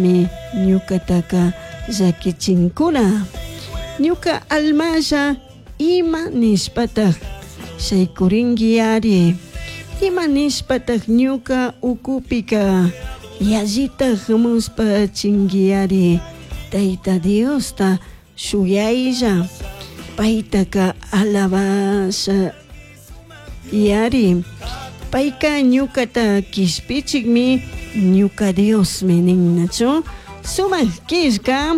Mi ñukataka llakichinkuna. Ñuka almalla ima nishpataj shaykuringuiari. Ima nishpataj ñuka ukupika yallitaj muspachinguiari. Tayta Diosta shuyaylla paytaka alabasha yari. Payka ñukata kishpichikmi ñuka Diosmi ninnachu. Sumak killka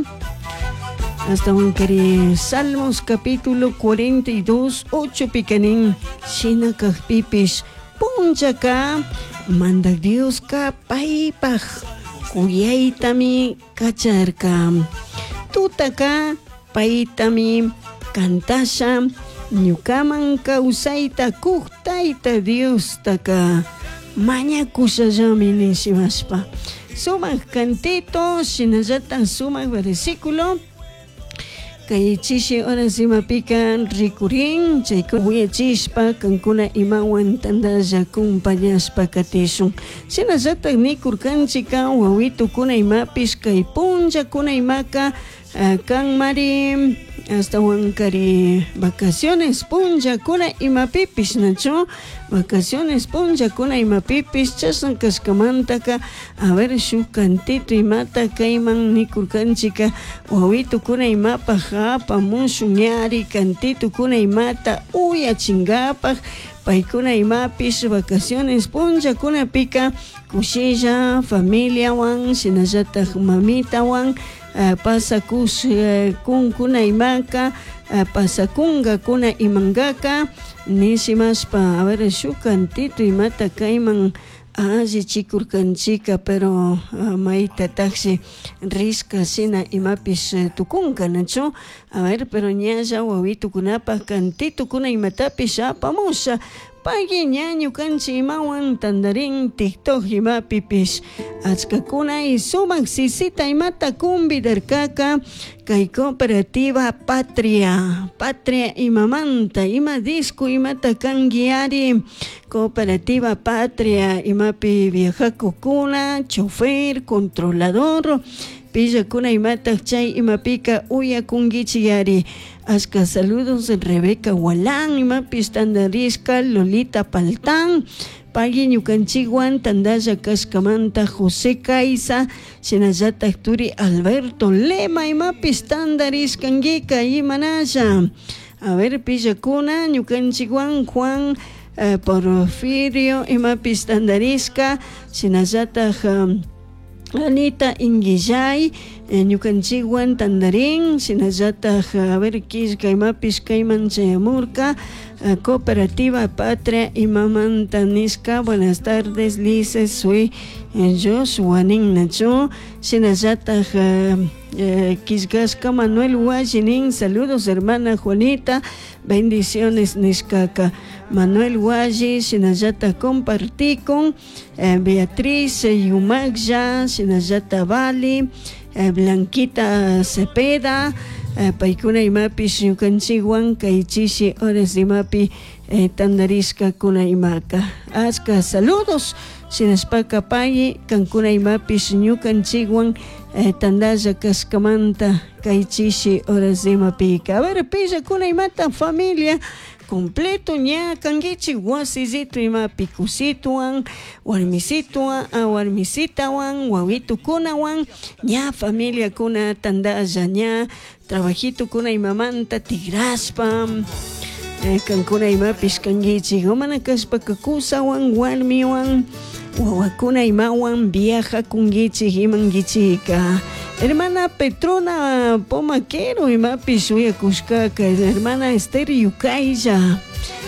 Ashtawankari Salmos capítulo 42 8 pika nin shina kakpipish punllaka Mandak Dioska paypaj kuyaytami kacharka. Tutaka paytami kantasha ñukaman kawsayta kuk Tayta Diostaka mañakushallami nishimashpa. Sumak cantito shinallatak sumak versículo kay chishi horas imapika rikurin chaykuna wiñachishpa kankuna imawan tantalla compañashpa katishun. Shinallatak nikurkanchika wawitukuna imapish kay punllakuna imaka kanmari ashtawankari vacaciones punllakuna imapipish nachu vacaciones punllakuna imapipish chashna kashkamantaka a ver shuk cantito imata kayman nikurkanchika wawitukuna imapak apamushun ñari cantitukuna imata uyachinkapak paykuna imapish vacaciones punllakunapika kushilla familiawan shinallatak mamitawan pasakush kunkuna imaka pasakunkakuna imankaka nishimashpa a ver shuk cantito imata kayman allichikurkanchika pero maytatakshi rishka shina imapish tukunka nachu a ver pero ñalla wawitukunapak cantitukuna imatapish apamusha pagui ña ñukanchik imawan tantarin TikTok imapipish achkakuna y sumak sisita imata convidarkaka kay cooperativa Patria. Patria imamanta ima disco imata kanguiari cooperativa Patria imapi viajakukuna chofer controlador pillakuna imatak chay imapika uyakunkichik ashka saludos Rebeca Walán imapish tantarishka Lolita Paltán pagui ñukanchikwan tantalla kashkamanta José Caiza shinallatak turi Alberto Lema imapish tantarishkankika imanalla a ver pillakuna ñukanchikwan Juan Porfirio imapish tantarishka shinallatak Anita Inguillay ñukanchikwan tantarin shinallatak a ver killka imapish kayman chayamurka cooperativa Patria imamanta nishka buenas tardes Lice soy Joshua ninnachu shinallatak killkashka Manuel Hualli nin saludos hermana Juanita bendiciones nishkaka Manuel Hualli shinallatak compartikun Beatriz Yumaclla shinallatak Vali Blanquita Cepeda paykuna imapish ñukanchikwan kay chishi horas imapi tantarishkakuna imaka ashka saludos shinashpaka pagui kankuna imapish ñukanchikwan tantalla kashkamanta kay chishi horas imapika a ver pillakuna imata familia completo ña kankichik wasillito imapi kusituwan warmisituwan warmisitawan wawitukunawan ña familiakuna tantalla ña trabajitukuna imamanta tigrashpa kankuna imapish kankichik mana kashpaka kusawan warmiwan wawakuna imawan viajakunkichik imankichika hermana Petrona Pomaquero imapish uyakushkaka hermana Esther Yukaylla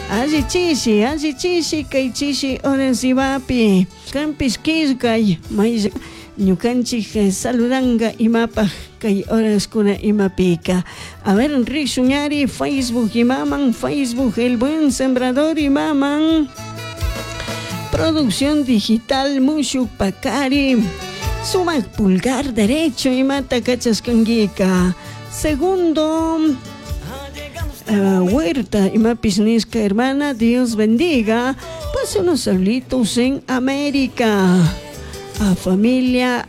alli chishi alli chishi kay chishi horas imapi kanpish killkay may ñukanchik saludanka imapak kay horaskuna imapika a ver rishun Facebook imaman Facebook El Buen Sembrador imaman producción digital mushuk pakari sumak pulgar derecho imata kachashkankika segundo Huerta imapish nishka hermana Dios bendiga pase unos saluditos en América a familia.